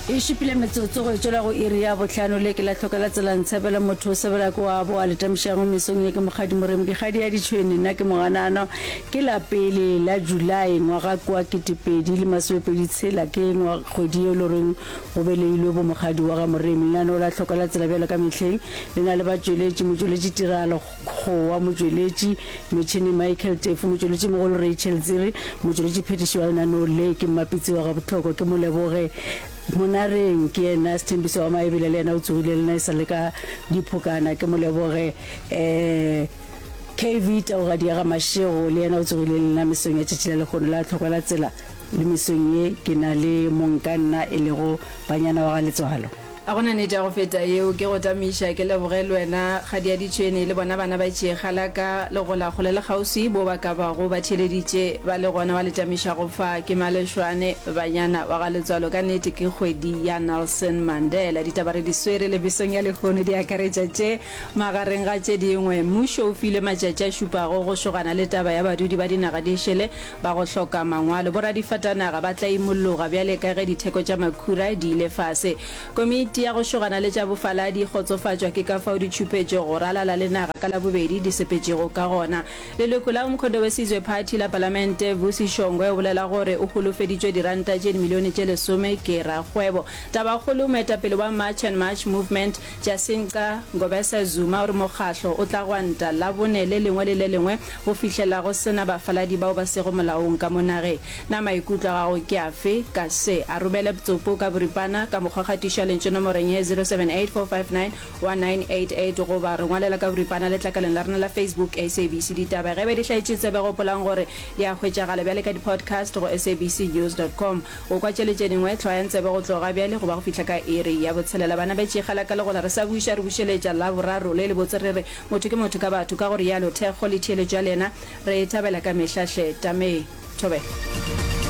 E šupile metsotso go e tšwela go iri ya bohlano. Le ke la hloka la tsela ntshebela motho o sebela ke wa bo a le tamišago mesong ye ke Mokgadi Moremi ke kgadi ya ditšhwene nna ke Moganano ke la pele la July ngwaga kwa 2026 ke ngwa kgwedi ye le reng go beleilwe bo Mokgadi wa ga Moremi lenaneo la hloka la tsela bjalo ka mehleng le na le batšweletši motšweletši tiragalo Kgowa, motšweletši metšhene Michael Tefu, motšweletšimogolo Rachel Tsiri, motšweletšiphethiši wa lenaneo le ke Mmapitsi wa Gabohlokwa, ke Moleboge Monareng, ke yena Sethembiso wa Maebele, le yena o tsogile le nna e sa le ka diphokana, ke Moleboge um KV Taugadi ya ga Mashego, le yena o tsogile le nna mesong ya tšatši la lehono la Tlhokwa la Tsela, le mesong ye ke na le mongkanna e lego Banyana wa ga Letswalo. Ga go na nnete ya go feta yeo. Ke go tamiša, ke leboge le wena Kgadiaditšhwene le bona bana ba tšeega la ka le gola kgole le kgauswi bo ba ka bago ba theeleditše ba le gona ba le tamišago fa. Ke Malešwane Banyana wa ga Letswalo. Ka nnete ke kgwedi ya Nelson Mandela. Ditaba re di swere le mesong ya lehono di akaretša tše magareng ga tše dingwe. Mmušo o filwe matšatši a šupago go šogana le taba ya badudi ba dinaga di šele ba go hloka mangwalo. Boradifatanaga ba tla imolloga bjale ka ge ditheko tša makhura di ile fase. Komiti ya go šogana le tša bofaladi e kgotsofatšwa ke ka fao ditšhupetšo go ralala le naga ka Labobedi di sepetšego ka gona. Leloko la Umkhonto we Sizwe Party la Palamente Vusi Shongwe o bolela gore o holofeditšwe diranta tše dimilione tše lesome ke rakgwebo. Tabakgolo, moetapele wa March and March Movement, Jacinta Ngobese Zuma o re mokgahlo o tla gwanta Labone le lengwe le le lengwe go fihlela go se na bafaladi bao ba sego molaong ka mo nageng. Na maikutlo a gago ke afe ka se? A romele ptsopo ka boripana ka mokgwakgatišo ya lentšu nomorong ye 0784591988 goba re ngwalela ka boripana letlakaleng la rena la Facebook SABC Ditaba. Ge e ba di hlaetše tsebe gopolang gore di a hwetšagala bjale ka di-podcast go sabcnews.com. Go kwa tše le tše dingwe, hlwayang tsebe go tloga bjale go ba go fihla ka iri ya botshelela. Bana ba tšegela ka legola, re sa buša re bušeletša Laboraro le lebotse re re, Motho ke motho ka batho. Ka go realo, thekgo le theeletšo ya lena re e thabela ka mehla hle. Tamee. Thobela.